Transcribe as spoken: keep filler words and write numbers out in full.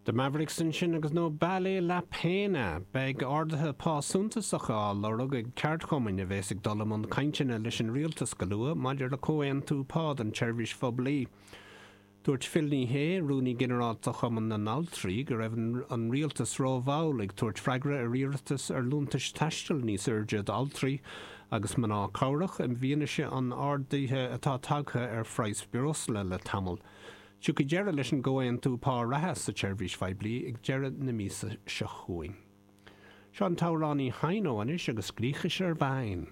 The Mavericks ansin agus No Vale La Pena. Beidh arduithe pá suntasacha á lorg ag ceardchumainn a bheas ag dul i mbun cainteanna leis an rialtas go luath maidir le comhaontú pá don tseirbhís phoiblí. Dúirt Phil Ní Sheaghdha, rúnaí ginearálta Chumann na nAltraí go raibh an rialtas rómhall ag tabhairt freagra ar iarratas ar liúntais taistil níos airde d'altraí agus mná cabhrach i bhfianaise an ardaithe atá tagtha ar phraghas breosla le tamall. Tiocfaidh deireadh leis an gcomhaontú pá reatha sa tseirbhís phoiblí ag deireadh na míosa seo chugainn. Seo an t-amhránaí Haino anois agus Griechischer Wein.